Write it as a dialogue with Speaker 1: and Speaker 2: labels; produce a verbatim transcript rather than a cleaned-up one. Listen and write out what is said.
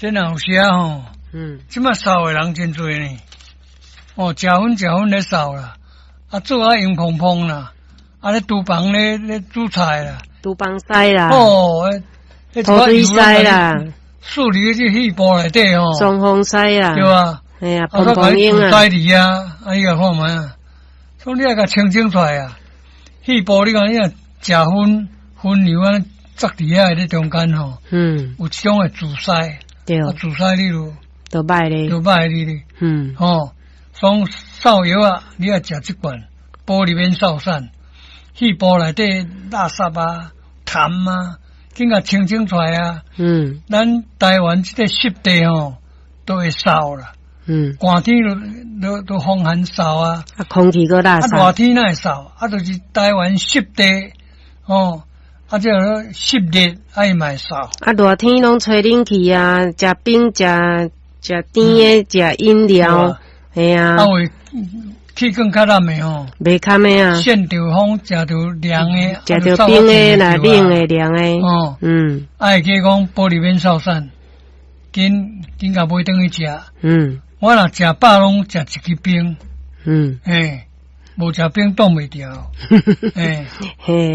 Speaker 1: 這若有時吼，
Speaker 2: 嗯，
Speaker 1: 這馬掃的人真濟呢。哦，食薰食薰咧掃啦，啊做啊黃蓬蓬啦，啊咧廚房咧咧煮菜啦，
Speaker 2: 廚房屎啦，
Speaker 1: 哦，
Speaker 2: 塗水屎啦，
Speaker 1: 處理這肺部內底吼，
Speaker 2: 雙風屎啦，
Speaker 1: 對啊，
Speaker 2: 嘿啊，蓬蓬蠅
Speaker 1: 啊，屎啊，啊你來看覓啊，所以你愛共清清出來啊，肺部你講你若食薰薰油啊，塞佇遐咧中間吼，
Speaker 2: 嗯，
Speaker 1: 有一種會阻塞，
Speaker 2: 對，
Speaker 1: 啊阻塞你就
Speaker 2: 就歹咧，
Speaker 1: 就歹你咧，
Speaker 2: 嗯，
Speaker 1: 吼，所以掃藥啊，你愛食這罐玻璃免掃散，肺部內底垃圾啊、痰啊，緊共清清出來啊。
Speaker 2: 嗯，
Speaker 1: 咱台灣這個濕地吼，都會掃啦。
Speaker 2: 嗯，
Speaker 1: 寒天都都都風寒掃啊，
Speaker 2: 啊，空氣閣垃圾，
Speaker 1: 啊，熱天哪會掃？啊，就是台灣濕地，吼，啊，這個濕熱啊，伊嘛會掃。
Speaker 2: 啊，熱天攏吹冷氣啊，食冰食食甜的，食飲料，嘿啊。
Speaker 1: 啊，為氣管較難的吼，
Speaker 2: 袂堪的啊。
Speaker 1: 腺著風，食著涼的，
Speaker 2: 食著冰的啦，冷的涼的。
Speaker 1: 哦，
Speaker 2: 嗯。
Speaker 1: 啊，會記講玻璃免掃散，緊緊共買轉去食。
Speaker 2: 嗯。
Speaker 1: 我若食飽攏食一支冰。
Speaker 2: 嗯。
Speaker 1: 嘿，無食冰擋袂牢。嘿。
Speaker 2: 嘿。